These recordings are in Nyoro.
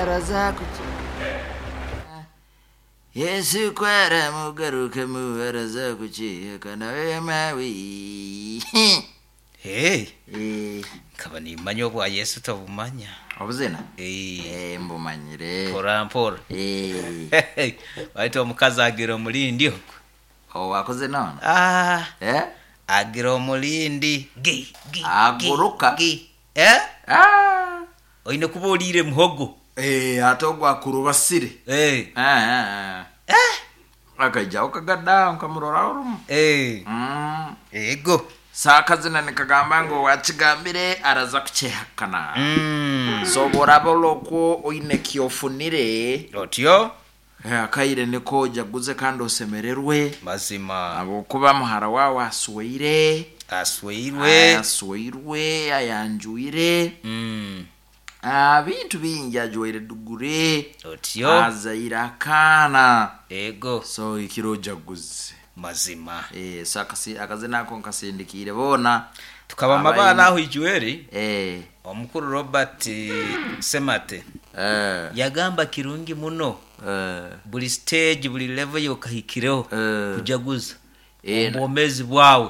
Araza Yesu kwaramugarukemu araza kukihakana mawe. Hey, Eh, nkaba nimanya obwa Yesu tobumanya. Obuzina? Eh, Eh, mbumanyire. mpora mpora. Eh, Baitu omukazi agira omulindi ogwo. owakoze none? Ah, Eh? agira omulindi. Gi, gi, gi, Aguruka. gi. Eh? Ah. Oine kuba oliire muhogo. Eh, ate ogwakurubasire. Eh. Ah, ah, ah. Eh. Akaijaho kagada nkamurora orumu. Eh. Ego. Saakazina nikagamba ngu wakigambire araza kukyehakana. So bworaba olwokwo oine kyofunire Otyo? akaire niko ojaguze kandi osemererwe Mazima. habwokuba muhara wawe asweire Asweirwe. asweirwe ayanjwire bintu bingi ajwaire dugure Otyo? azaire akaana Ego. so ikiro ojaguze. Mazima. Eh, so akazina ako nkasindikiire boona. Tukaba Abaine. amabara aho ijweri. Omukuru Robert Semate yagamba kirungi muno buli stage buli level yokahikireho kujaguza obwomezi bwawe.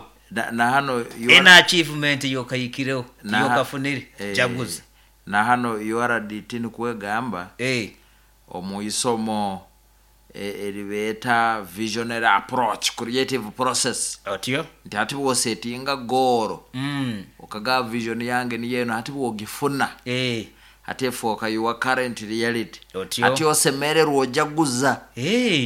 Na hano Ena achievement yokahikireho yokafunire jaguza. Na hano URDT nikwegamba omu isomo eribeeta visionary approach creative process. Otyo? Nti hati bwosetinga goal okaga vision yange niyo eno hati bwogifuna hati efooka your current reality. Otyo? Hati osemererwa ojaguza.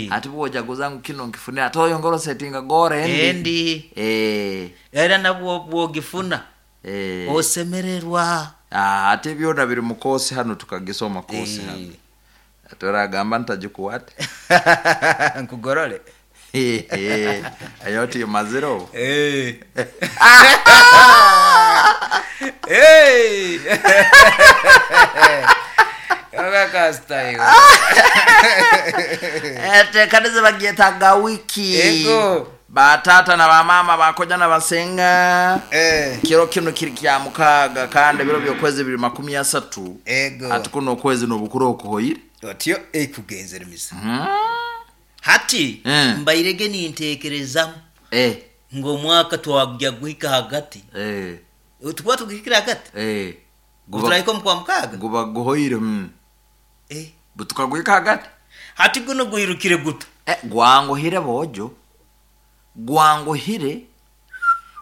Hati bwojaguza ngu kino nkifune ate oyongera osetinga goal endi. Endi. Era nabwo bwogifuna osemererwa. Ah, ate byona biri mu kosi hano tukagisoma kosi hano. Toragamba ntagikuwate. Nkugorore. Ayo timazire obu. Hey! Oga Etekanize bagyetaaga wiki. Ego. Batata na bamama bakoja na basenga. Kiro kino kiri kya mukaaga kandi ebiro by'okwezi biri 30. Ego. Ati kuno okwezi n'obukuru okuhoire. Otyo ekugenzera misa. Hati mbairege ninteekerezamu ng'omwaka twagya guhika hagati. Tukuba tugihikire hagati. Turahika omu kwa mukaaga. Guba guhoire. Butukaguhika hagati. Hati guno gwirukire guta. Gwanguhire bojo. Gwanguhire.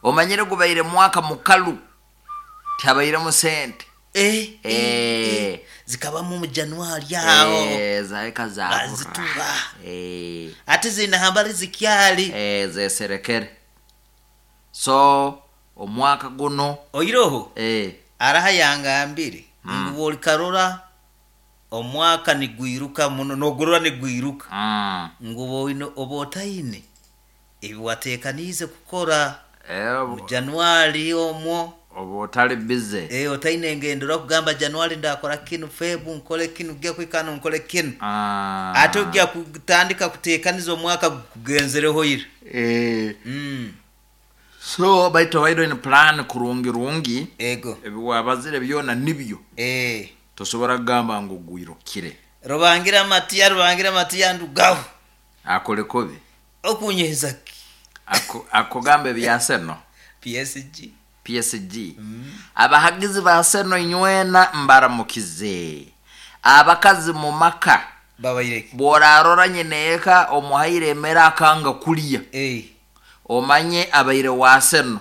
Omanyire gubaire mwaka mukalu. Tihabairemu sente. Zikabamu mu January aho. Zahika zabura. Bazitura. Ate zinahambali zikyali. Zeserekere. So omwaka guno Oiroho araha yangambire ngu bwolikarora omwaka nigwiruka muno nogurora nigwiruka. Ngu oba otaine ebi wateekaniize kukora mu January omwo. Oba otali busy. Otaine engendo kugamba January ndakora kinu, Feb nkole kinu, gya kwikano nkole kinu. Ate ojja kutandika kuteekaniza omwaka gukugenzereho ira. So baitu obaire oine plan kurungi rungi. Ego. Ebi wabazire byona nibyo. Tosobora kugamba ngu gwirukire. Rubangira matiya, rubangira matiya ndugaho. Akole kubi. Okunyeheza ki? Akugamba ebya Seno. PSG. PSG. Abahagizi ba Seno inywena mbaramukize. Abakazi mu maka. Babaireke. Bworarora nyineeka omuhaire emere akanga kulya. Omanye abaire wa Seno.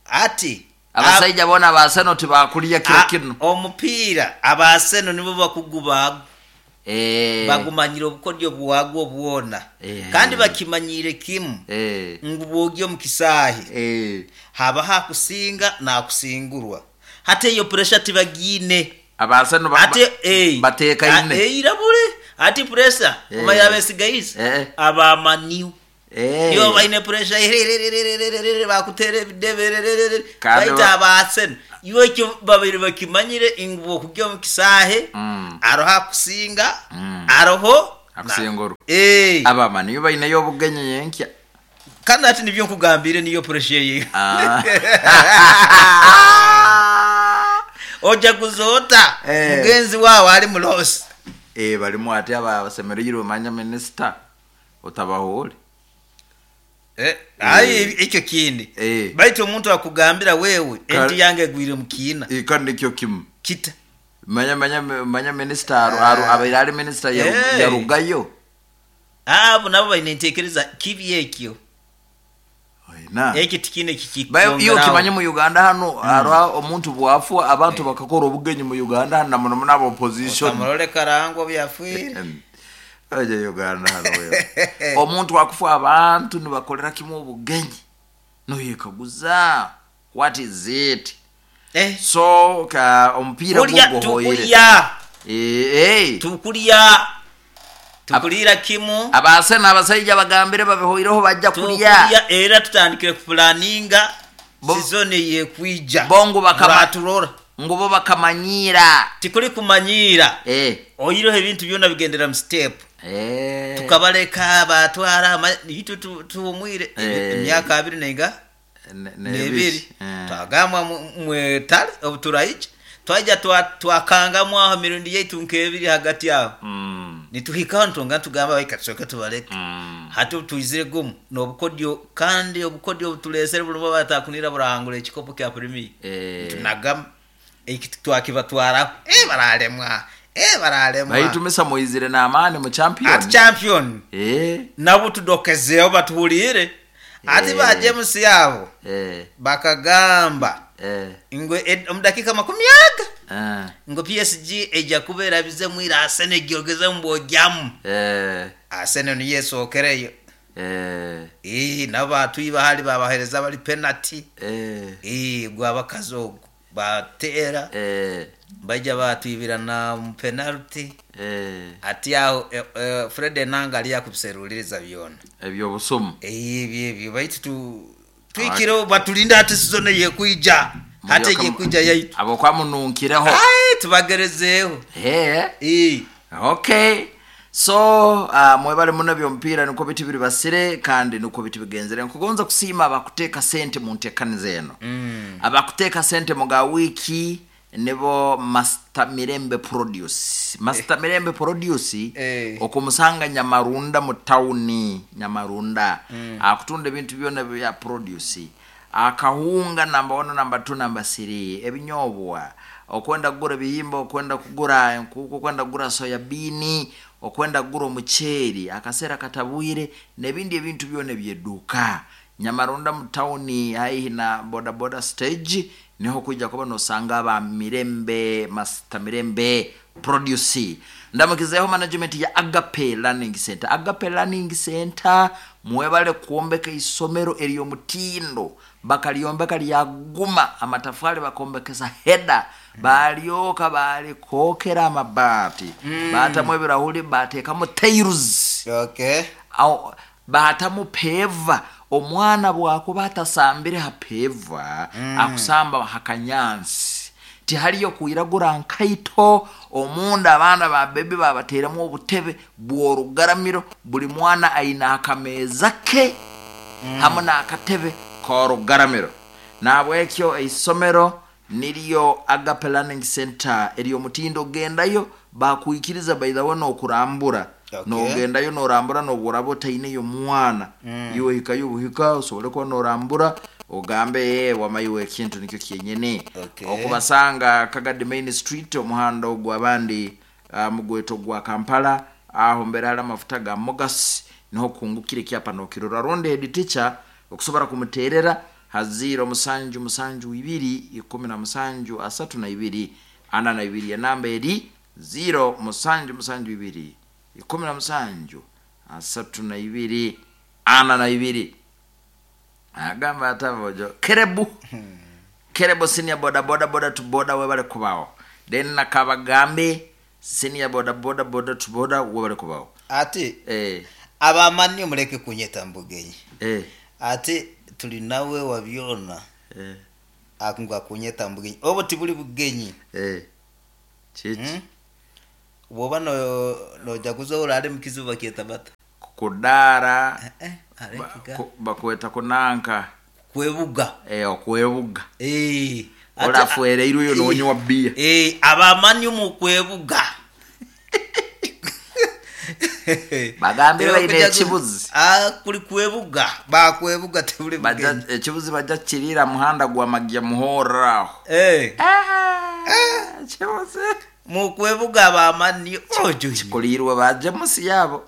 Ati abasaija bona ba Seno tibakulya kiro kino. Omupiira aba Seno nibo bakuguba. Bagumanyire obukodyo bwagwo bwona. Kandi bakimanyire kimu. Ngu bwogye omu kisaahi. Haba hakusinga nakusingurwa. Hati eyo pressure tibagiine. Aba Seno Ate, bateekaine. Irabure. Ati pressure omanya abesigaize. Abamaniu. Nibo baine pressure ererererererere bakuteera ebidebe Kandi baitu aba Seno iwe ekyo babiri bakimanyire ngu bwokugya omu kisaahe aroho akusinga aroho akusingurwa. Abamaniu baineyo obugenyi yenkya. Kandi ati nibyo nkugambire niyo pressure ye. Ojaguza ota mugenzi wawe ali mulosi. Balimu ati abasemereirwe manya minisita otabahoole. Ayi ekyo kindi. Baitu omuntu akugambira wewe enti yange egwire mu kiina. Kandi nikyo kimu. Kita. Manya manya manya minisita abaire ali minisita yarugayo. Abo nabo baine entekereza kibi ekyo. Oina. Ekyo tikine Bayo iyo kimanye mu Uganda hano hariho omuntu bwafwa abantu bakakora obugenyi mu Uganda hano na muno muno aba opposition. Otamurole Karangwa byafwire. Oje Uganda hano wewe. Omuntu akufa abantu nibakolera kimu obugenyi. Noyekaguza what is it? So ka omupiira gugohoire. Tukulya. Tukulira kimu. Abasena abasajja bagambire babihoireho bajja kulya. Tukulya era tutandikire kupulaninga season yekwija. Bongo bakabaturora. Ngubo bakamanyira. Tikuli kumanyira. Oyiroho ebintu byona bigendera mu step. Tukabaleka batwara itu tuumwire emyaka 2 nenga nebiri. Twagamba mwetale obuturaije. Twaja twakangamu aho mirundi yaitu nkebiri hagati aho. Nituhika ntonga tugamba baikatsoka tubaleke. Hati tuizire gumu nobukodyo kandi obukodyo butulesere bulimo batakunira burangura ekikopo kya Premier. Tunagam eki twakibatwara baralemwa. Baralemwa. Baitumisa muizire na amani mu champion. At champion. Nabo tudokezeyo batuhulire. Ati ba James yabo. Bakagamba. Ngo omudakika 20. Ngo PSG eja kubera bize mwira Arsenal gyogeze mbojyamu. Arsenal ni yesokereyo. Nabo hali babahereza bali penalty. Gwa bakazogo batera. Bajja batwibira na penalty. Ati aho Fred Enanga ali yakubiseruliriza byona. Ebyo busumu. Ebyo baitu twikiro batulinda ati season yekuija. Hata yekuija yaitu. Abo kwamununkireho. Tubagerezeho. Okay. So mwebale muno byompira niko biti biri basire kandi niko biti bigenzere. Nkugonza kusima abakuteka sente mu ntekanize eno. Abakuteka sente mu ga wiki nibo Master Mirembe Produce. Master Mirembe Produce okumusanga Nyamarunda mu town Nyamarunda. Akutunda ebintu byona bya produce. Akahunga namba 1 namba 2 namba 3 ebinyobwa okwenda kugura ebihimba, okwenda kugura enkuku, okwenda kugura soya bean, okwenda kugura omuceeri akasera katabwire n'ebindi ebintu byona ebyeduka. Nyamarunda mu town haihi na boda boda stage niho kujja kuba nosanga aba Mirembe Master Mirembe Produce. Ndamukizeho management ya Agape Learning Center. Agape Learning Center mwebale kuombeka isomero eriyo mutindo bakaliombeka lyaguma amatafali bakombekeza heda balyoka balikokera amabati batamu ebirahuri batekamu tiles. Au batamu peva. Omwana bwakuba atasambire hapeva akusamba hakanyansi tihaliyo kuiragura nkaito. Omunda abaana ba bebi babateremu obutebe bw'orugaramiro buli mwana aina akameza ke hamwe n'akatebe k'orugaramiro. Nabwekyo isomero niryo Agape Learning Center eriyo mutindo gendayo bakuikiriza by the way nokurambura. Nogendayo norambura noburabo taineyo mwana iwe hikayo buhika usobole kuba norambura ogambe wamayiwe ekintu nikyo kyenyene. Okubasanga Kagadi Main Street omuhanda ogwa abandi mugweto gwa Kampala aho mbere hari amafuta ga Mogas niho kungukire kyapa nokirora. Ronde head teacher okusobora kumuterera ha 0 7 7 2 17 32 42. Enamba eri 0 7 7 2 17 32 42. Agamba atavojo kerebu kerebu senior boda boda boda to boda webale kubao. Then nakabagambe senior boda boda boda to boda webale kubao. Ati abamani muleke kunyeta mbugenyi. Ati tuli nawe wabyona. Akunga kunyeta mbugenyi. Obo tibuli bugenyi. Chichi. Woba no jaguza urare mukizuba kietabata. Kudara. Bakweta kunanka. Kwebuga. Okwebuga. Olafuere iruyo nonywa bia. Abamani mu kwebuga. Bagambire baine ekibuzi. Kuli kwebuga bakwebuga tebuli bugenyi. Ekibuzi bajja kirira muhanda gwa magya muhorra aho. Ekibuzi mukwebuga bamani ojo kikulirwe bajemusi yabo.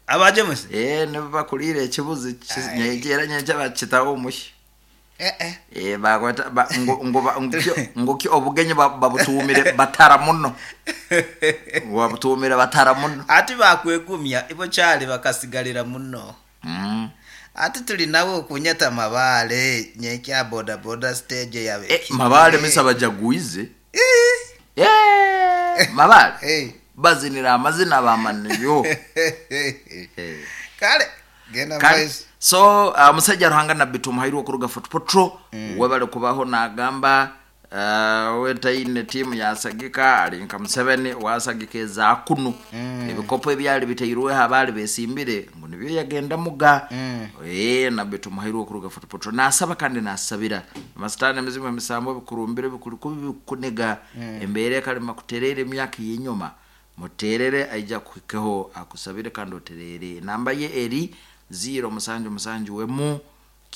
Abajemusi nibo bakulira ekibuzi nyegera nyeja bakitaho omushi. Bakweta ngo obugenyi babutumire batara muno. Babutumire batara muno. Ati bakwegumya ibo cyali bakasigalira muno. Ati tuli nabo kunyata mabale nyekya boda boda stage yabe. Mabale misa bajaguize. Mabale. Bazinira amazina bamaniyo. Kale genda maiso. So musajja Ruhanga Nabbi Tumuhairwe okuruga Fort Portal webale kubaho nagamba wetaine timu yasagika alinka Museveni wasagika ezakunu ebikopo ebyali biteirwe abali besimbire ngo nibyo yagenda muga. Nabbi Tumuhairwe okuruga Fort Portal nasaba kandi nasabira amasitani emizimu emisambo bikurumbire bikuli kubi kunega embere kalima kuterere emyaka yenyuma muterere aija kuhikeho akusabire kandi oterere. Namba ye eri 0 7 7 8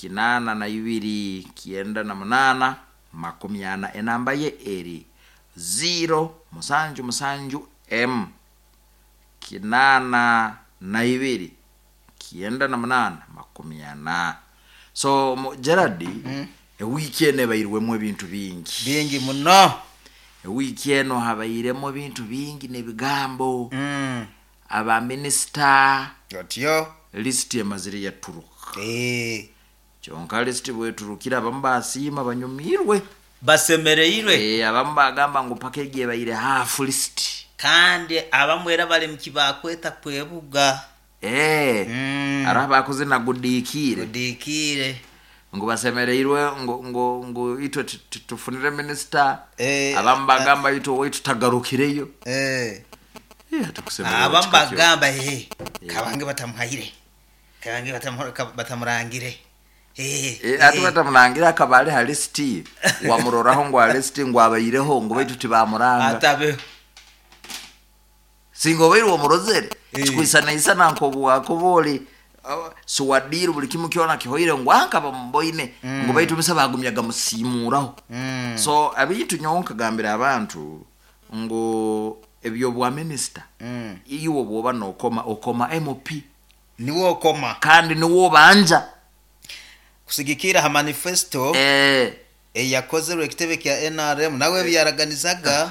2 98 40. Enamba ye eri 0 7 7 M 8 2 98 40. So Gerard, ewiki eno ebairwemu ebintu bingi bingi muno. Ewiki eno habairemu ebintu bingi n'ebigambo. Aba minister otyo list emazire yaturuka. Kyonka list bweturukira abamu basiima banyumirwe basemereirwe. Abamu bagamba ngu package ebaire half list kandi abamu era bali mukibakweta kwebuga. Ara bakoze na gudikire ngo basemereirwe ngo itwe tufunire minister. Abamu bagamba itwe wetu tagarukireyo. Abamu bagamba kabange batamuhaire kabange batamurangire. Ati batamurangira akabale ha list wamuroraho ngo list ngo abaireho ngo baitu tibamuranga atabe singo bairu omurozere kwisana isana nko bwakobole suwadiru buli kimu kyona kihoire ngo anka bamboine ngo baitu misa bagumyaga musimuraho. So abitu nyonka gambira abantu ngo ebyo bwa minister iwo bwoba nokoma okoma MP niwo okoma kandi niwo banja kusigikira ha manifesto eyakozerwe ekitebe kya NRM nawe byaraganizaga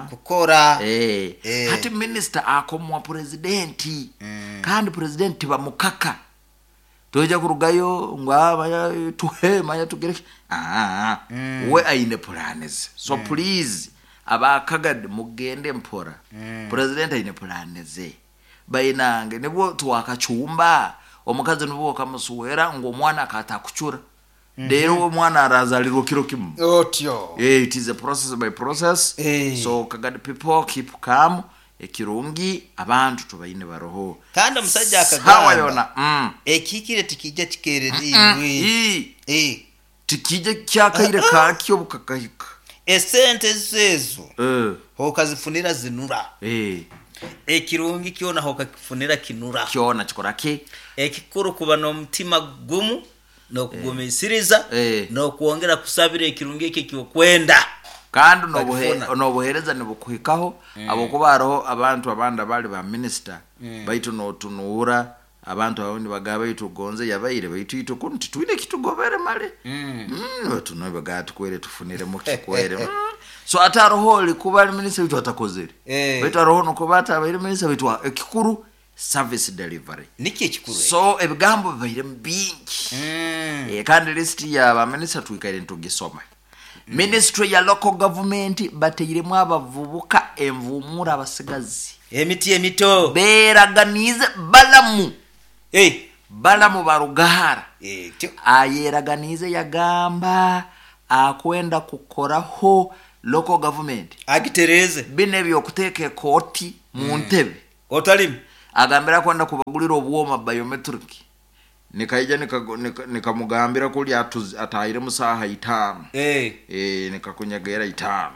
kukora. Hati minister akomwa president kandi president bamukaka toja kurugayo ngo tuhe maya tugere we aine plans. So please abakagad mugende mpora. President aine plans bainange nibwo twakachumba omukazi nibwo kamusuwera ngo omwana akatakuchura. Rero omwana arazalirwa kiro kimu otyo. It is a process by process. So Kagadi people keep calm. Ekirungi abantu tubaine baroho kandi omusajja akagamba yona ekikire tikijja kikereriwe. Tikijja kyakaire kakyo bukakahika esente zezo hokazifunira zinura. Ekirungi kyona hokakifunira kinura kyona kikora ki ekikuru kuba n'omutima gumu n'okugumisiriza n'okwongera kusabira ekirungi ekyo kyokwenda kandi n'obuhereza nibukuhikaho. Abokuba hariho abantu abandi abali ba minister baitu notunuura abantu abandi bagaba baitu gonze yabaire baitu itwe kuno titwine kitugobere male. Tuno baga tukwere tufunire mu kikwere. So ate hariho likuba minister baitu atakozere. Baitu hariho nokuba atabaire minister baitu ekikuru service delivery niki ekikuru. So ebigambo bibaire bingi. Kandi list ya ba minister twikaire ntugisoma. Ministry ya local government bateiremu abavubuka envumura abasigazi emiti emito beraganize balamu balamu barugahara. Ayeraganize yagamba akwenda kukoraho local government agitereze bine byokuteeka ekoti mu ntebe otalimu agambira kwenda kubagulira obwoma biometric. Nikaija nikamugambira kuli atahire musaha 5. Nikakunyagera 5.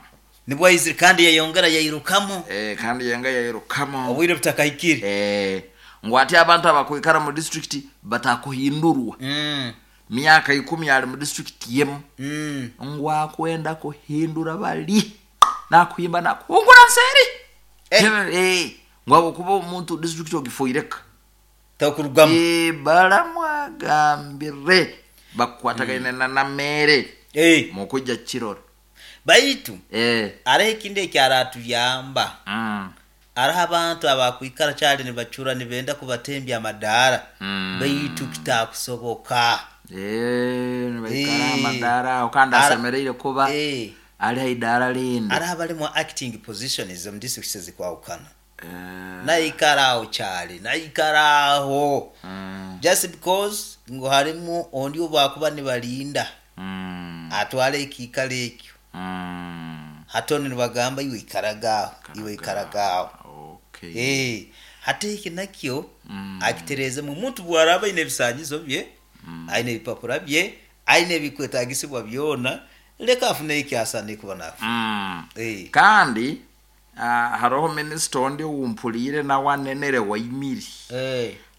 Nibwo aizire kandi yayongera yairukamu. Kandi yenga yairukamo. Obwire butakahikire. Ngu ati abantu abakwikara mu district batakuhindurwa. Myaka 10 ali mu district yemu. Ngu akwenda kuhindura bali nakuhimba nakuhungura nseri. Ngu abo kuba omuntu district ogifoireka takurugamu. Baramwagambire bakwatagaine na namere mukujja kirora. Baitu araho ekindi ekyaratuyamba. Araho abantu abakwikara kyali nibacura nibenda kubatembya amadaara. Baitu kitakusoboka. Nibaikara amadaara aho kandi asemereire kuba ali haidara lindi. Araho abalimu acting positions mu districts zikwawukana. Naikara aho kyali, naikara aho. Just because ngu harimu ondi obakuba nibalinda. Atwale ekiikaro ekyo. Hatono nibagamba iwe ikaragaho, iwe ikaragaho. Okay. Hati eki nakyo akitereze mu muntu bwaraba aine ebisanyizo bye, aine ebipapura bye, aine ebikwetagisibwa byona, leka afune ekyasane kuba nafu. Kandi haroho minister ondi wumpulire na wanenere waimiri.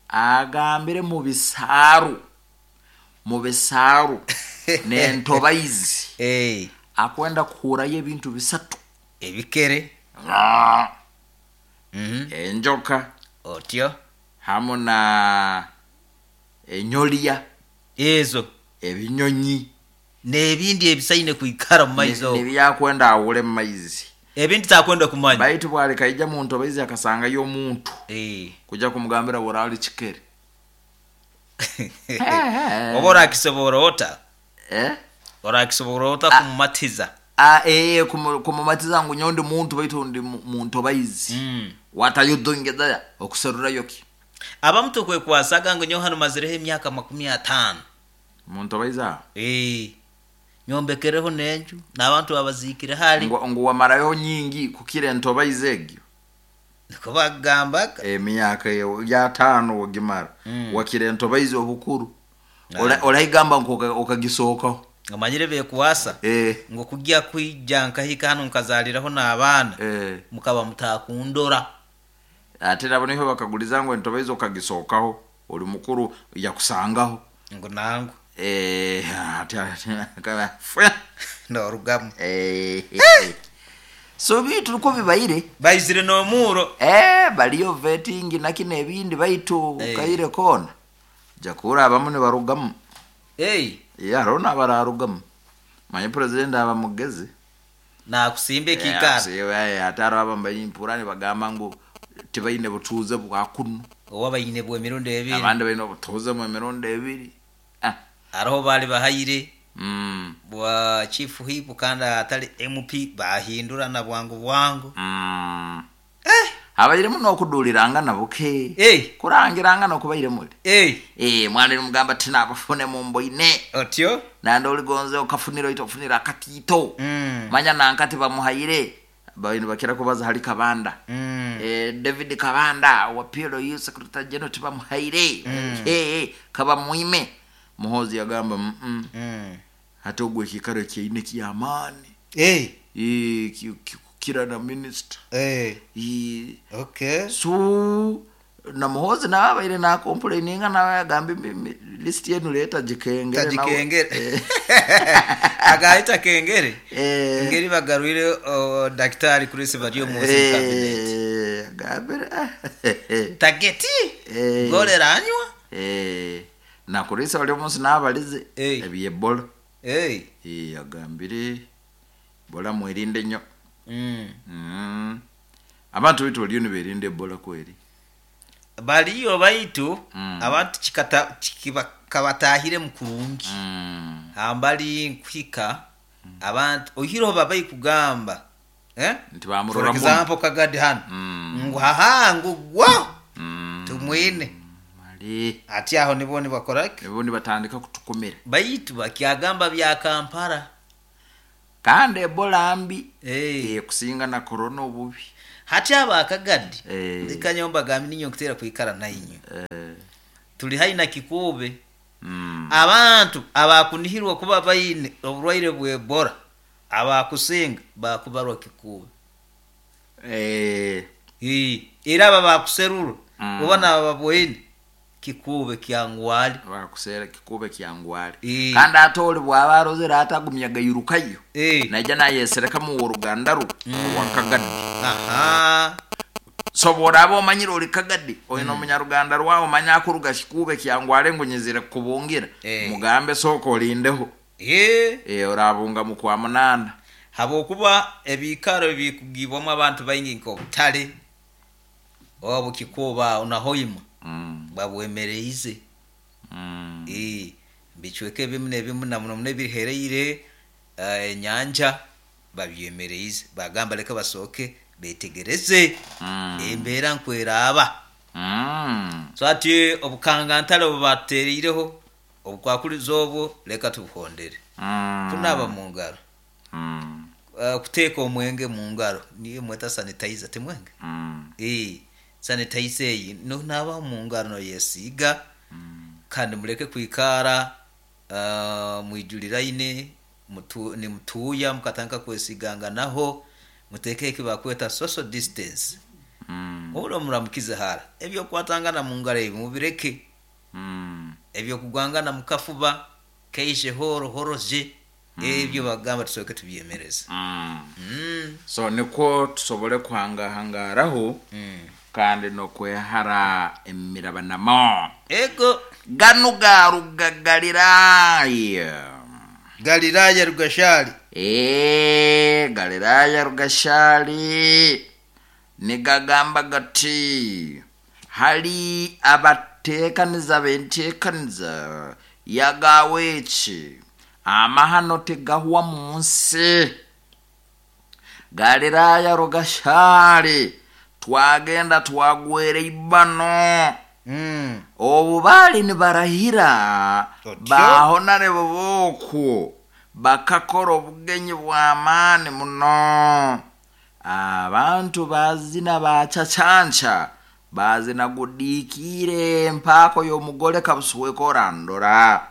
Agambire mu bisaaru. Mu bisaaru n'entobaizi. Akwenda kuhurayo ebintu bisatu. Ebikere. Enjoka. Otyo. Hamu na enyolia. Ezo. Ebinyonyi. N'ebindi ebisaine kwikara mu maizi. Nebyakwenda awule mu maizi. Ebindi takwenda kumanya. Baitu bwali kaija mu ntobaizi akasangayo omuntu. Kujja kumugambira burali kikere. Oba orakisobora ota? Orakisobora ota kumumatiza? Kumumatiza ngu nyondi muntu baitu ndi mu ntobaizi. What are you doing there? Okuserurayo ki? Abamu tukwekwasaga ngu nyowe hano mazireho emyaka 50. Mu ntobaizi aho? Nyombekereho n'enju n'abantu abazikire hali. Ngu wamarayo nyingi kukira entobaizi egyo. Niko bagambaga. Emyaka ya 5 wagimara. Wakira entobaizi obukuru. Olaigamba ngu okagisookaho. Amanyire bekuwasa. Ngo kujya kwijja nkahika hano nkazaliraho n'abaana. Mukaba mutakundora. Ate nabo niho bakaguliza ngo entobaizi okagisookaho. Oli mukuru yakusangaho. Ngo nangu. Ate no rugamu. So bitu uko bibaire. Baizire no muro. Baliyo vetting na kine ebindi baitu kaire kona. Jakura abamu ne barugamu. Ya rona bararugamu. Manye president aba mugezi. Na kusimbe kikara. Ataro aba mbayimpura ne bagamba ngo tibaine butuze bwa kuno. Oba bayine bwe mirundi ebiri. Abandi bayine obutuze mu mirundi ebiri. Araho bali bahayire. Bwa chief whip kandi atali MP bahindura na bwangu bwangu. Abayire muno okuduliranga nabuke. Kurangiranga nokubayire muli. Mwana mugamba tina abafune mu mboine. Otyo? Nando oligonze okafunira ito ofunira akatito. Manya nankati bamuhayire. Bayini bakira kubaza hali Kabanda. David Kabanda wa PLU Secretary General tibamuhayire. Kaba muime. Muhozi yagamba hata ogwe kikaro kyeine kyamaani. Kira na minister. Okay. So na Muhozi na abaire na complaininga na yagamba list yenu leta jikengere na jikengere. Agaita kengere. Ngeri bagarwire daktari Chris Bario Muhozi cabinet. Gabira. Tageti. Golera anywa. Na kurisa wali omunsi n'abalize ebyebola. Agambire bola mwerinde nnyo. Abantu bitu baliyo niberinde ebola kweri. Baliyo baitu abantu kabatahire mu kurungi. Ambali nkwika abantu ohiroho babayi kugamba. Nti bamurora For example Kagadi hano. Ngu haha ngu gwa. Tumwine. Ati aho nibo nibakoraki? Nibo nibatandika kutukomera. Baitu bakyagamba bya Kampala. Kandi Ebola mbi. Kusinga na corona obubi. Hati aba Kagadi. Ndikanyomba gami ninyo kutera kuikara na inyo. Tuli haina kikube. Abantu abakunihirwa kuba bayine oburwaire bwe Ebola. Abakusinga bakubarwa kikuube. Era aba bakuserura oba naba babwoine kikuube kyangwali. Bakusera kikuube kyangwali. Kandi ate oli bwaba arozere atagumya gairukayo, naija nayeserekamu ow'oruganda rwe owakagadde. So bworaba omanyire oli kagadde, oine omunyaruganda rwawe omanya akuruga kikuube kyangwale ngu nyizire kukubungira, mugambe sooka olindeho. Orabunga mu kwa 8. Habwokuba ebiikaro ebikugibwamu abantu baingi nk'obutale obu kikuuba aho naho ima babwemereize. Bicweka ebimu n'ebimu na muno muno ebihereire enyanja babyemereize, bagamba leka basooke betegereze embeera nkweraaba. So hati obukangantale obu batuteriireho obukwakulizo obwo leka tubuhondere. Kunaaba mu ngaro, kuteeka omwenge mu ngaro, niyo mweta sanitizer, timwenge? Sanitizer eyi nonaaba mu ngaro noyesiiga, kandi muleke kwikara mwijuliraine nimutuuya mukatandika kwesiganganaho, muteekeho eki bakweta social distance. Oburo muramukize hara, eby'okukwatangana mu ngaro ebi mubireke, eby'okugwangana mu kafuba keije horo horoje, ebyo bagamba tusooke tubyemereze. So nikwo tusobole kuhangahangaraho kandi n'okwehara emirabanamo. Ego. Ganu garuga Galiraaya. Galiraaya Rugashali. Galiraaya Rugashali nigagamba gati hali abateekaniza b'enteekaniza yagawe eki amahano tigahwa mu nsi. Galiraaya Rugashali twagenda twagwera ibano. Obu baali nibarahira bahonare bobokwo bakakora obugenyi bw'amaani muno. Abantu bazina bacacanca, bazina gudiikiire mpaako y'omugole kabusweka orandora.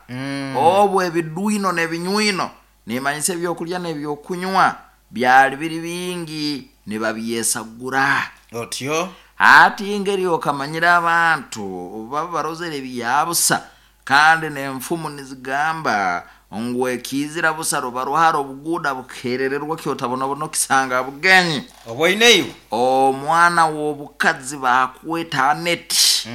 Obu ebidwino n'ebinywino nimanyisa ebyokulya n'ebyokunywa byali biri bingi nibabyesagura. Otyo. Hati engeri okamanyira abantu obu baba barozere ebyabusa, kandi n'enfumu nizigamba ngu ekiizira busa ruba ruhara obuguuda bukerererwa kyotabonabona okisanga bugenyi. Oboineiwe. Omwana w'obukazi bakweta Aneti,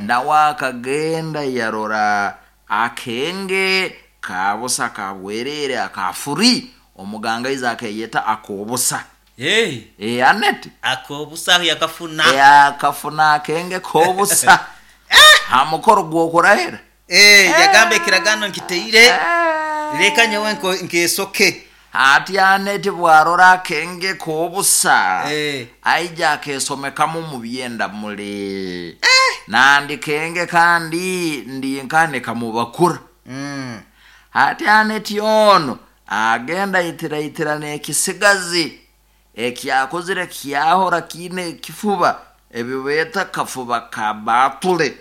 nawe akagenda yarora akenge kabusa kabwerere akafuri, omugangaizi akeyeta ak'obusa. Aneti. Ak'obusa aho yakafuna. Akafuna akenge k'obusa ha mukoro gw'okurahira. Yagamba ekiragano nkiteire, leka nyowe nkesoke. Hati Aneti bwarora akenge k'obusa, aija akesomekamu mu byenda muli. Nandi kenge kandi ndi nkane kamubakura. Hati Aneti ono agenda itiraitira n'ekisigazi ekyakozire kyahora kiine ekifuba ebyo beeta kafuba ka baatule.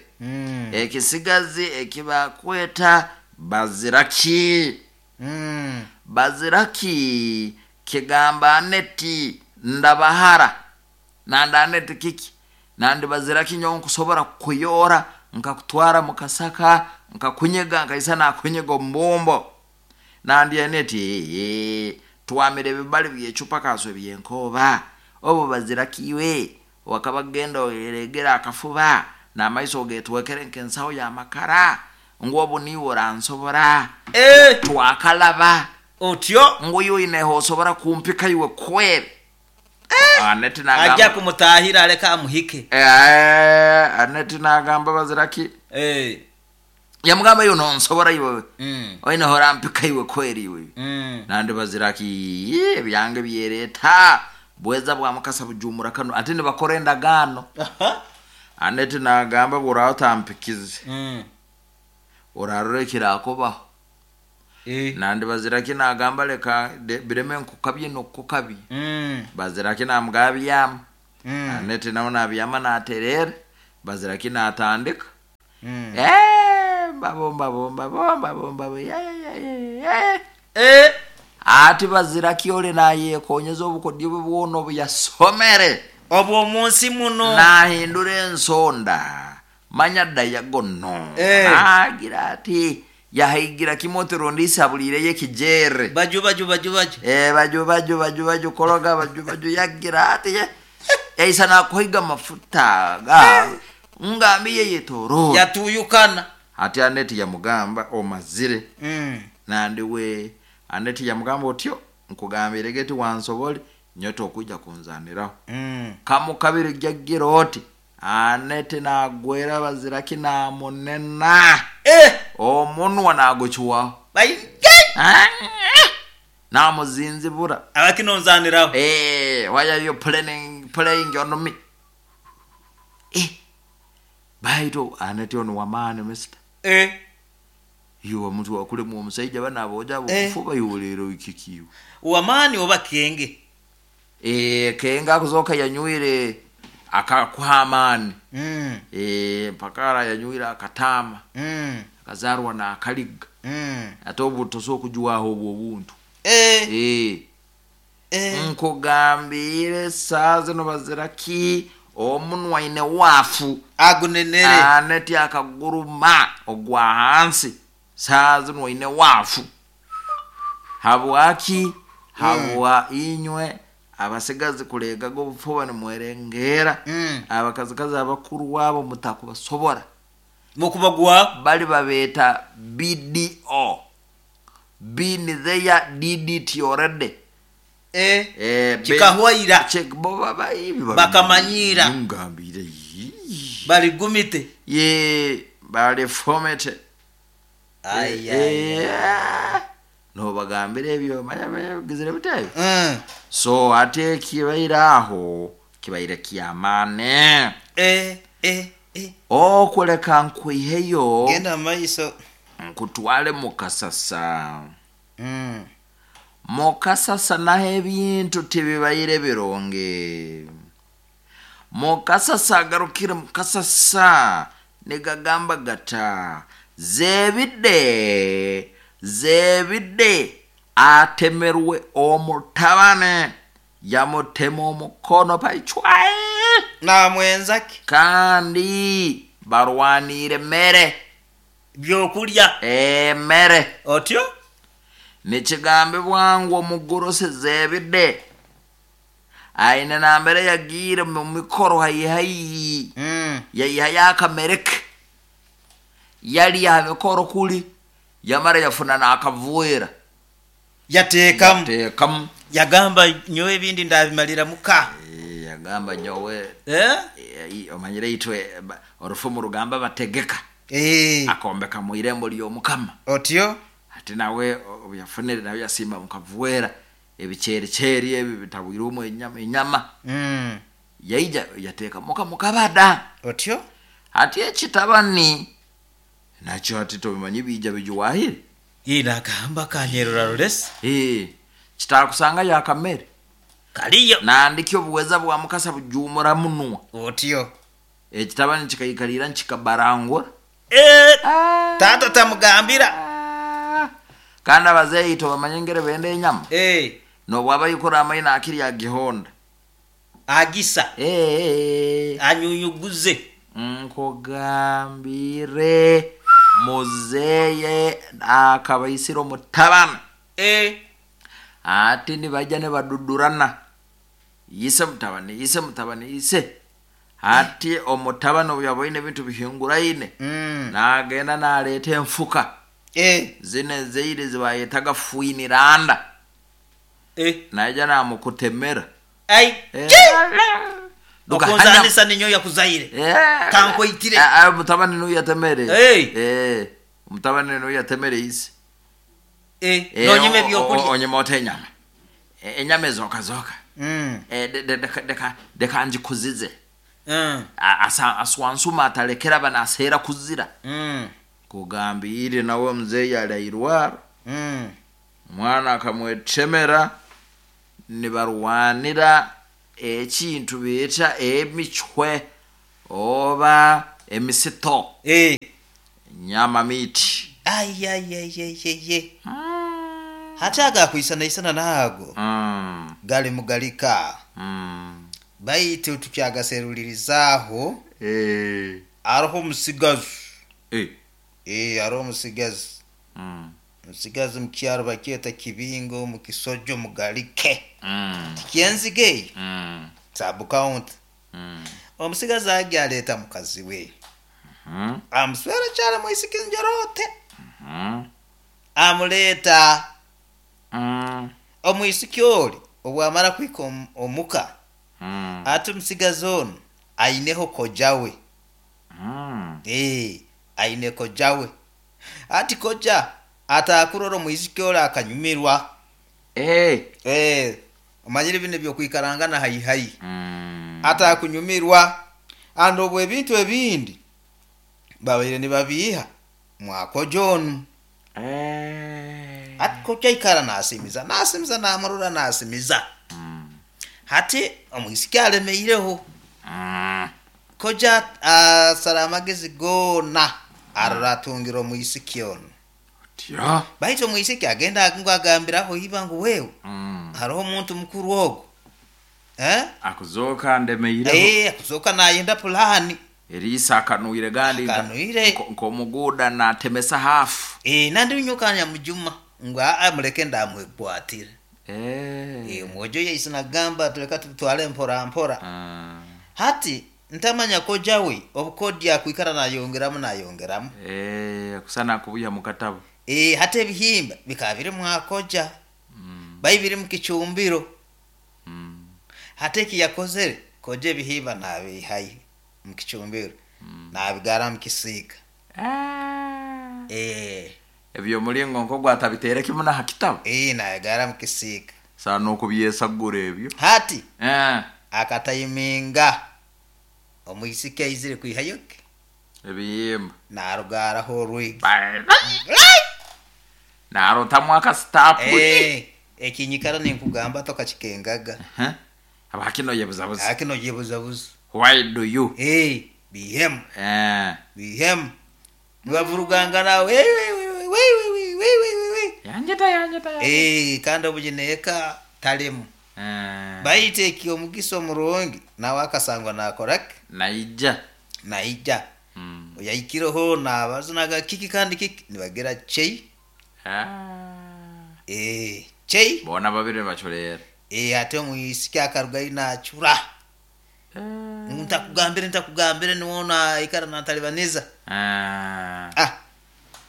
Ekisigazi ekibakweta baziraki. Baziraki kigamba Aneti ndabahara. Nandi Aneti kiki? Nandi baziraki nyowe nkusobora kukuyora nkakutwara mu kasaka nkakunyega nkaisa nakunyega omu bumbo. Nandi Aneti twamira ebibali by'ecupa kaso ebyenkoba. Obu baziraki iwe wakaba genda oyeregera akafuba n'amaiso ogetwekere nk'ensaho y'amakara ngu obu niiwe oransobora. Twakalaba. Otyo. Ngu iwe oineho osobora kumpika iwe kweri. Aneti nagamba. Ajja kumutahira aleka amuhike. Aneti nagamba baziraki. Yamugamba iwe nonsobora iwe. Oineho orampika iwe kweri iwe. Nandi baziraki ebyange byereta bweza bwa mukasa bujumura kano ate nibakora endagaano. Aneti nagamba bw'oraba otampikize, orarora ekirakubaho. Nandi baziraki nagamba leka bireme nkukabye n'okukukabya. Baziraki namugamba byama. Aneti nawe nabyama naterera, baziraki natandika. Mbabo mbabo mbabo mbabo mbabo ya ya ya ya. Ati bazira kyole nayekonyeza obukodyo bwe bwona obu yasomere Obw'omunsi muno. Nahindura ensonda manya dayagono. Agira ati yahaigira kimwe otirundi abuliireyo ekijere. Baju baju baju baju. Baju baju baju baju koroga baju baju yagira ati yaisa nakuhiga mafuta ga ngambiye yetoro Yatuyukana. Ati Aneti yamugamba omazire. Nandiwe Aneti yamugamba otyo nkugambire geti wansobole nyote okujja kunzaniraho. Kamu kabiri jjagira oti Aneti nagwera baziraki namunena. Omunwa nagukiwaho. Namuzinzibura. Abakinonzaniraho. Why are you playing on me? Baitu Aneti ono wamaani mister. Iwe omuntu wakulemu omusajja bana aboja bufuba iwolero ikikiwe. Wamaani oba kenge? Kenge akuzoka yanywire akakuha amaani. Mpakara yanywire akatama. Akazarwa na akaliga. Ate obu tosobola okujuwaho obwo obuntu. Nkugambire saa zino baziraki omunwa aine waafu. Agunenere. Aneti akaguruma ogwa hansi saa zino aine waafu. Habwaki? Habwa inywe abasigazi kulegaga obufuba nimwerengera. Abakazikazi abakuru abo mutakubasobora. Mukubagwa bali babeeta BDO. Been there, did it already. Kikahwaira. Check bo baba ibi Bakamanyira. Ngambire. Baligumite. Ye bali fomete. Ai ai. No bagambire ebyo manya manya gizire bitayo. So ate kibaira aho kibaire kyamane. Okuleka nkwiheyo. Genda maiso. Nkutwale mukasasa. Mukasasa naho ebintu tibibaire bironge. Mukasasa agarukire mukasasa nigagamba gata zebidde zebidde atemerwe omutabane yamutema omukono paichwae namwenzaki kandi barwanire mere byokulya emere otyo nikigambibwa ngu omugorosi zebidde aine nambere yagiire mu mikoro haihayi. Yaihayo akamereke yali aha mikoro kuli yamara yafuna n'akavuera yateekamu yateekamu yagamba nyowe ebindi ndabimalira muka. Yagamba nyowe omanyire itwe orufumu rugamba bategeka. Akombeka mu irembo ly'omukama otyo ati nawe obuyafunire nawe yasimba mukavuera ebikyerikyeri ebi bitabwirwemu enyama. Yaija yateeka muka mukabada otyo ati ekitabani nakyo ati tobimanyi bija bijuwahire. Nagamba kanyerora rulesi. Kitakusanga yakamere kaliyo nandiki obuweza bwa mukasa bujumura munwa otyo ekitabani kikaikalira nkikabarangura. Tata tamugambira. Kandi abazeeyi tobamanye ngere benda enyama. Nobwaba yikora amaina akiri agihonda agisa. Anyunyuguze. Nkugambire muzeye akabaisira omutabana. Ati nibajja nibadudurana yise mutabani yise mutabani yise ati omutabani obu yaboine ebintu bihinguraine. Nagenda naleeta enfuka. Zino ezeire zibayetaga fuiniranda. Naija namukutemera. Okunzanisa ninyo yakuzaire. Kankoitire. Mutabani nuyo yatemere. Mutabani nuyo yatemere isi. Nonyime byokulya. Onyime ote enyama. Enyama ezoka zoka. Deka njikuzize. Aswansuma atalekera bana asera kuzira. Kugambire nawe mzeyi alairwara. Mwana akamwetemera nibarwanira ekintu beeta emichwe oba emisito. Nyama miti. Ai ai ai ai ai. Hati agakwisanaisana naago gali mugalika. Baitu tukyagaserulirizaaho. Aroho omusigazi. Aroho omusigazi. Omusigazi mukyaro bakyeta Kibingo mukisojo mugalike. Tikyenziga eyo. Sub county. Omusigazi agi aleeta mukazi we. Amuswera kyali mwisiki njorote. Amuleeta. Omwisiki oli obwamara kuhika omuka. Ati omusigazi onu aineho koja we. Aine koja we. Ati koja atakurora omwisiki oli akanyumirwa. Omanyire bino ebyokwikarangana haihi. Atakunyumirwa. Andi obwo ebintu ebindi babaire nibabiiha mwakoja onu. Ati koja aikara nasimiza nasimiza namurora nasimiza. Hati omwisiki alemeireho. Koja asara amagezi goona arora atungira omwisiki onu. Baitu omwisiki agenda ngu agambiraho iba ngu wewe. Haroho omuntu mukuru ogu. Akuzoka ndemeireho. Akuzoka nayenda pulani. Eriisa akanuire gandi nkomuguda natemesa hafu. Nandi nyokanya mujuma ngu muleke ndamwekwatira. Omwojo yaisa nagamba tuleka tutwale mpora mpora. Hati ntamanya koja we obukodi akwikara nayongeramu nayongeramu. Kusana kubuya mukatabo. Hati ebihimba bikaba biri mwakoja. Bayi biri mu kicumbiro. Hati eki yakozere koja ebihimba nabihayo mu kicumbiro. Nabigara mu kisiika. Ebyo mulingo nko gwatabitere kimu na hakitabo. Nabigara mu kisiika. Sana nokubyesagura ebyo. Hati akatayiminga omwisiki aizire kwihayoke. Ebihimba. Narugaraho orwigi. Narotamu akasitapu. Ekinyikara ninkugamba tokakikengaga. Abakino yebuzabuza. Akino yebuzabuza. Why do you? Bihemu. Bihemu. Nibavuruganga nawe. Yanjeta. Kandi obugineka talemu. Baite eki omugisa omurungi nawe akasangwa nakorake. Naija. Oyayikireho nabazunaga kiki kandi kiki nibagira chei. Chei. Bona babiri bachurera. Ate omwisiki akarugayo nachura. Ntakugambire niwona ikara natalibaniza.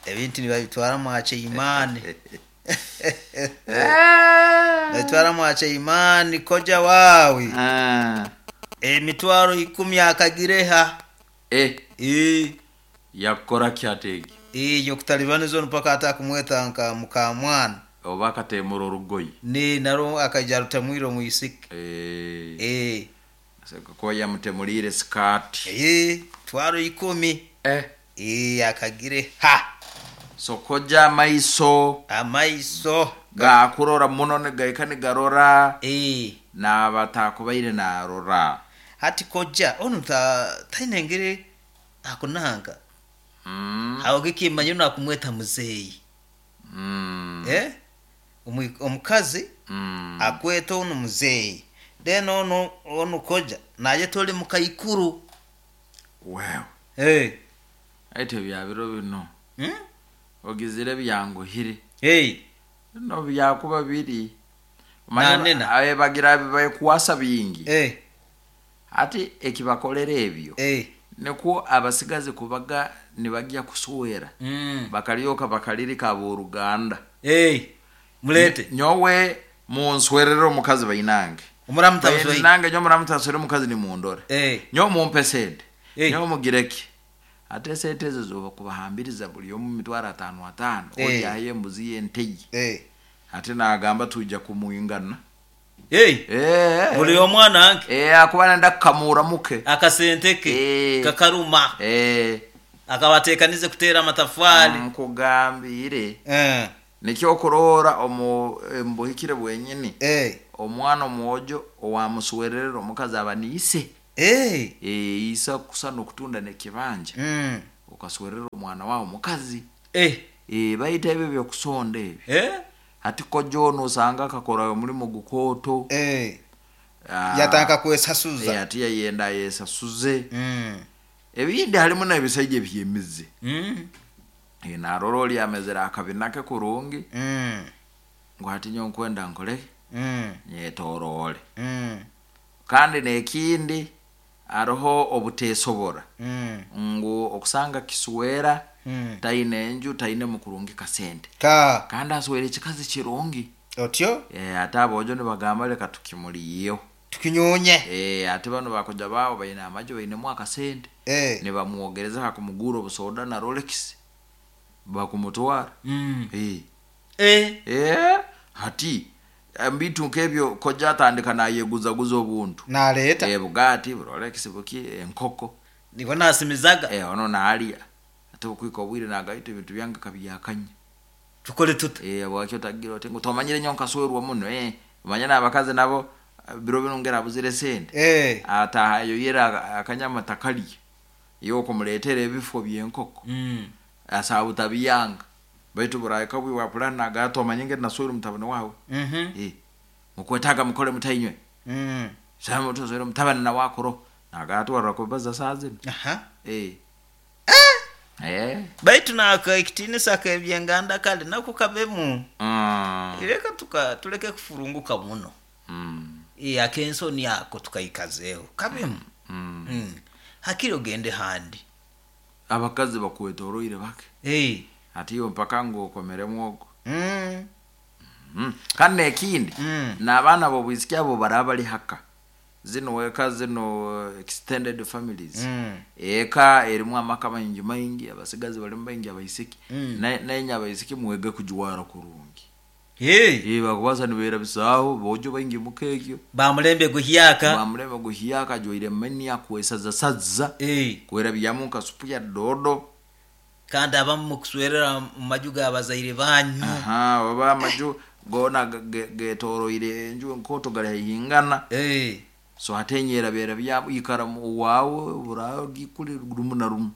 Ebintu nibabitwara mwache imani. Babitwara mwache imani koja wawe. Emitwaro 10 akagireha. Yakora kyategi. Yokutalibaniza mpaka atakumweta nka mukamwana. Oba akatemura orugoyi. Ni naro akaija rutamwire omwisiki. Ko yamutemulire skati. Twaro 10. Akagire ha. So koja amaiso. Amaiso gakurora muno negaika nigarora. Nabatakubaire narora. Hati koja onu tainengere akunanga. Aho kikimanya nakumweta muzeyi. Omukazi akweta onu muzeyi. Then onu koja naye toli mukaikuru. Wow. Ete byabiro bino. Ogizire byanguhire. No byakuba biri. Manena abe bagira bayikuwasa bingi. Ati ekibakolera ebyo. Niko abasigazi kubaga nibajya kusuwera. Bakalyoka bakalirika aboruganda. Mulete. Nyowe munswerero omukazi bainange. Bainange nyo muramutaswere omukazi ni mundore. Nyo mumpe sente. Nyo mugireke. Ate sente ezo zoba kubahambiriza buli omu mitwaro 5 5. Oja aye mbuzi yenteyi. Ate nagamba tuja kumuyingana. Buli omwana anke. Akuba nenda kukamura muke. Akasente ke. Kakaruma. Akabatekanize kutera amatafari. Nkugambire. Nikyo kurora omu mbuhikire bwenyini. Omwana omwojo owamuswererera omukazi aba niise. Isa kusana okutunda nekibanja. Okaswerera omwana wawe omukazi. Bayita ebyo byokusonda ebyo. Hati kojo osanga akakora omulimu gukooto. Yatandika kwesasuza. Ati yayenda yesasuze. Ebindi harimu n'ebisaija ebyemize. Narora oli amezere akabina ke kurungi. Ngu hati nyowe nkwenda nkole nyetoroole. Kandi n'ekindi hariho obuteesobora. Ngu okusanga kiswera taine enju, taine mukurungi kasente. Kandi aswera ekikazi kirungi. Otyo? Ate aboojo nibagamba leka tukimuliyeho. Tukinyonye. Ate bano bakoja baabo baine amaju bainemu akasente. Nibamwogereza hakumugura obusoda na Rolex. Bakumutwara. Hati mbitu nk'ebyo koja atandika nayeguzaguza obuntu. Naleeta. Bugatti, Rolex, buki, enkoko. Nibwo nasimizaga. Ono naalya. Ate okwika obwire nagaita ebintu byange kabyakanya. Tukole tuta. Bwakyo tagira oti ngu tomanyire nyo nkaswerwa muno. Omanye n'abakazi nabo biro bino ngera abuzire sente. Atahayo yera akanyama takalya. Yo kumuleetera ebifo by'enkoko. Asaba tabiyanga. Baitu buraika bwi wa plan nagato omanye naswera mutabani wawe. Mukwetaga mukole mutainywe. Sama tuzwera mutabani na wakoro. Nagato warakubaza saa zino. Baitu naka ekitinisa kebyenganda kale nako kabemu. Ileka tuleke kufurunguka muno. Akensoni yako tukaikazeho. Kabemu. Hakiri ogende handi. Abakazi bakwetoroire bake. Ati iyo mpaka ngo okomere mwogo. Kandi ekindi n'abaana b'obwisiki abo baraba bali haka. Zino eka zino extended families. Eka erimu amaka maingi maingi, abasigazi balimu baingi abaisiki. Naye abaisiki mwege kujwara kurungi. Bakubaza nibeera bisaho bojo baingi mukekyo. Bamulembe guhyaka. Bamulembe guhyaka joire meni akwesaza saza. Kwera byamu kasupu ya dodo. Kandi abamu mukuswerera mu maju g'abazaire banyu. Baba amaju gona getoroire enju enkoto gari hingana. So atenyera bera bya ikara wawe burayo gikuri rumu na rumu.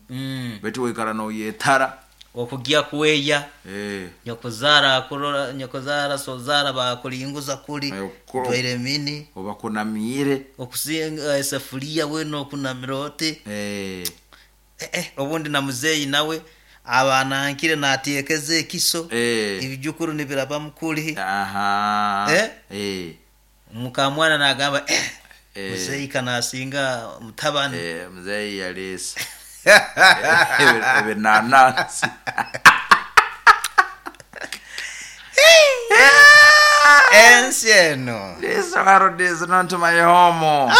Betu wikara no yetara. Okugia kuweya. Nyokozara kurora nyokozara sozara bakulinguza kuli toire mini obakunamire okusinga esafuria we no kunamirote. Obundi na muzeyi nawe abana nkire natekeze ekiso. Ebijukuru nibiraba mukuli. Mukamwana nagamba muzeyi kanasinga mutabani. Muzeyi yalesa. Ebinanasi. Ensi eno. This world is not my home.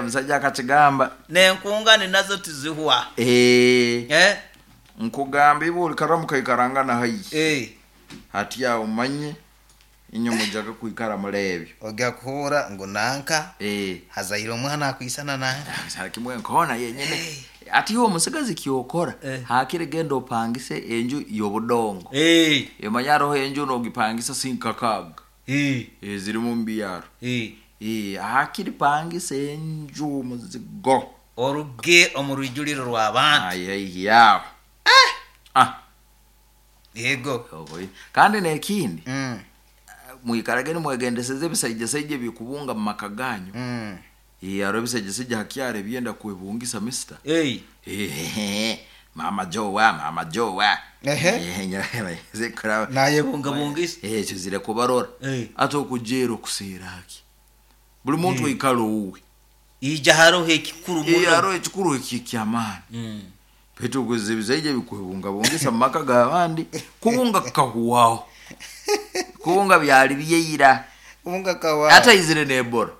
Musajja akakigamba. Nenkungane nazo tizihwa. Nkugamba ibo ulikara mukaikarangana hayi. Hati ya umanye inyo mujaga kuikara mulebyo. Ogya kuhura ngo nanka. Hazaire omwana akwisana nanka. Sara kimwe nkona yenyene. Ati yo musigazi kyokora. Hakire genda opangise enju yobudongo. Emanya roho enju nogipangisa sinkakaga. Ziri mu mbyaro. Hakiri pangise enju muzigo. Oruge omurujuliro rw'abantu. Ayi yawo. Yego. Kandi nekindi. Mwikarage nimwegendeseze ebisaija bikubunga mu maka ganyu. Aro ebisaija hakyare byenda kwebungisa mister. Mama Jowa, mama Jowa. Zikora naye bunga bungisa. Kizire kubarora. Ate okujera okuseeraki. Buli muntu ikalo uwe. Ija haro ekikuru muno. Haro ekikuru ekikyamaani. Petu kuzibizaije bikwebunga bungisa mu maka g'abandi kubunga kahuwaho. Kubunga byali byeira. Kubunga kawa. Ata izire nebora.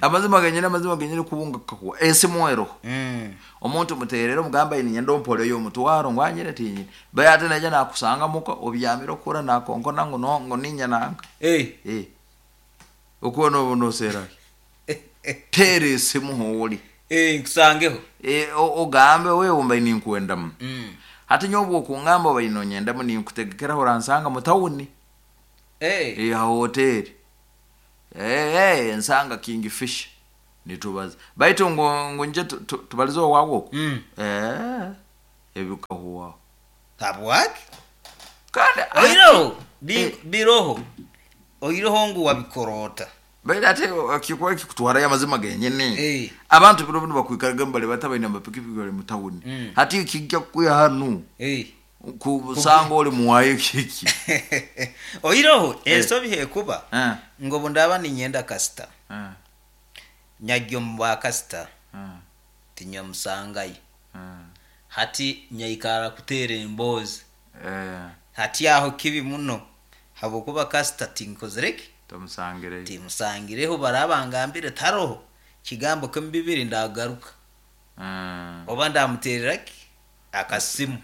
Amazima genyene kubunga kahuwa. Esimu ero. Omuntu muterero mugamba ini nyendo mpole yo mutwaro ngwanyire tinyi. Baye ate naja nakusanga muko obyamira okura nakonkona ngo no ngo ninya nanga. Okuona obuno sera. Tere esimu holi. Nkusangeho. Ogambe wewe umba ini nkuendamu. Hati nyobu okungamba baino nyendamu ni nkutegekera horansanga mu tawuni. Hoteli. Nsanga Kingfish. Nitubaza. Baitu ngo nje tubalizo wawo. Ebikahuwa. Tabwaki? Kandi Oireho biroho, oireho ngu wabikorota. Baira ate kikuba kikutwarayo amazima genyini. Abantu biro bino bakwikaraga bali batabaine amapikipiki bali mu tawuni. Hati kijja kukuya hanu kusanga oli muwayo kiki. Oireho ensobi hekuba ngo bundaba ninyenda kasita nyajja omu bwakasita tinyamusangayo. Hati nyaikara kuteera emboozi. Hati aho kibi muno habwokuba kasita tinkozireki, timusangireho, baraba ngambire taroho kigambo kimu bibiri ndagaruka oba ndamutereraki akasimu.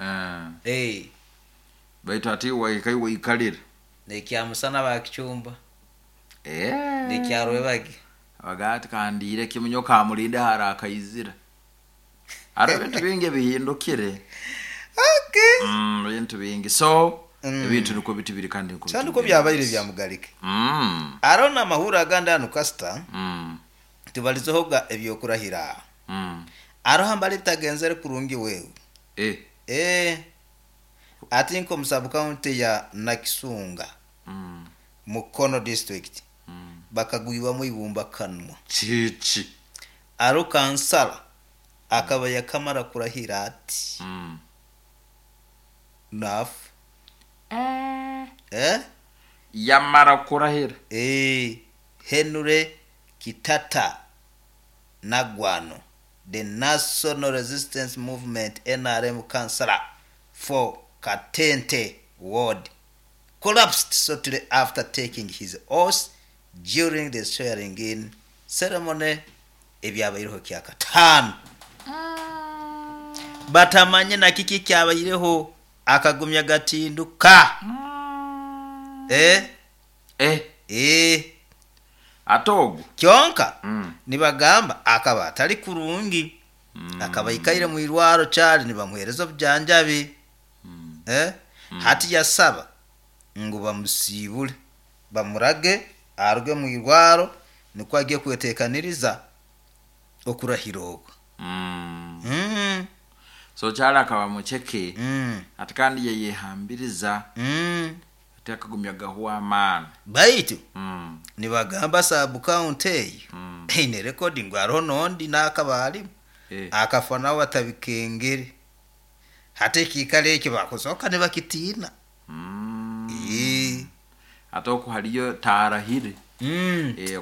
Baitu ati waikayo waikalira nekyamusana bakichumba nekyarwebagi bagati kandire kimunyo kamulinde harakaizira. Ari bintu bingi bihindukire. Okay. Bintu bingi. So ebintu niko bitibiri kandi niko bitibiri. Byabaire bya Mugalike. Arona amahura aganda anu kasita. Tubalizohoga ebyokurahira. Aroha mbali bitagenzere kurungi wewe. Ati nko mu county ya Nakisunga. Mukono district. Bakagwiwa ibumba kanwa. Chichi. Aro kansala akaba yakamara kurahira ati. Nafu. Yamara kurahira. Henry Kitata Nagwano, the National Resistance Movement NRM councillor for Katente Ward, collapsed shortly after taking his oath during the swearing in ceremony ebyabayireho kyakatano. Batamanye na kiki kyabayireho akagumya gatinduka. Atogo kyonka nibagamba akaba atali kurungi. Akaba ikaire mu irwaro cyali nibamuhereza obujanjabi. Hati yasaba ngo bamusibule bamurage aruge mu irwaro niko agiye kwetekaniriza okurahira okwo. So cyali akaba mucheke. Ati kandi yeyehambiriza. Ati akagumya gahuwa amani. Baitu nibagamba sub county eyo eine recording aroho nondi nakabali akafa nawe batabikengere. Hati ekikalo ekyo bakusoka nibakitina. Ate okuhaliyo tarahire.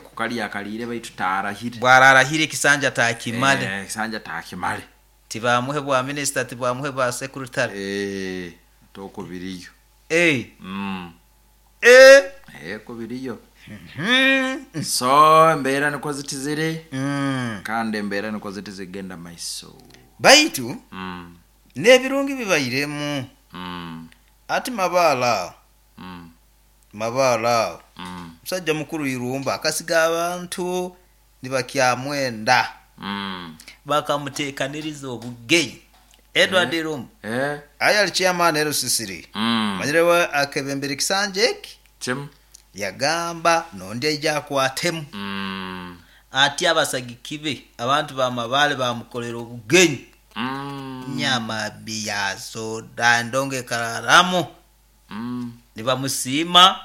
Kukali akalire baitu tarahire. Bwararahire kisanja takimale. Kisanja takimale. Tibamuhe bwa minister, tibamuhe bwa secretary. Toko biriyo. Ko biriyo. So embeera niko zitizire. Kandi embeera niko zitizigenda maiso. Baitu n'ebirungi bibayiremu. Ati Mabala. Mabala. Musajja mukuru Irumba akasiga abantu nibakyamwenda. Bakamutekaniriza obugenyi. Edward Irumba. Aya ali chairman LCCD. Manyirewe akebembere kisanja eki. Kim yagamba nondi aija akwatemu. Ati abasagikibe abantu ba Mabale bamukolera obugenyi. Nyama biya soda ndonge kararamu. Nibamusima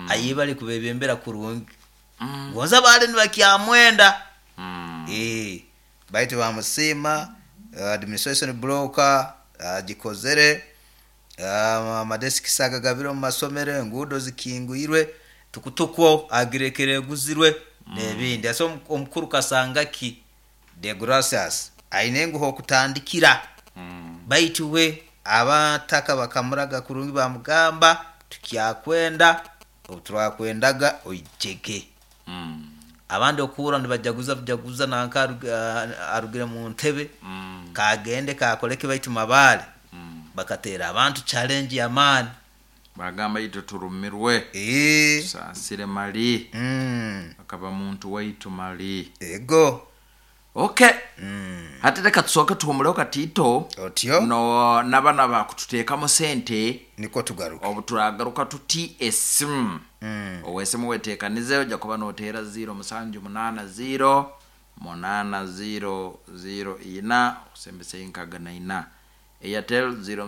ayibali kubebembera kurungi. Gonza bale nibakyamwenda. Baitu bamusima administration broker agikozere amadeski saga gabiro mu masomero enguudo zikingwirwe tukutukwo agirekere guzirwe n'ebindi. Ase omukuru Kasangaki de Gracias aine nguho okutandikira. Baitu we abataka bakamuraga kurungi bamugamba tukyakwenda obuturakwendaga oijege. Abandi okura nibajaguza bujaguza nanka arugire mu ntebe. Kagende kakoleke baitu Mabale. Bakatera abantu challenge ya mani. Bagamba ito turumirwe. Sansire mali. Akaba muntu waitu mali. Ego. Okay. Hati reka tusoke tuhumuleho katito. Otyo. No nabana bakututeekamu sente. Niko tugaruka. Obu turagaruka tuti esimu. Owesimu weteekanize ojja kuba noteera 0 7 8 0 8 0 0 4 osembese nkaga na ina. Airtel 0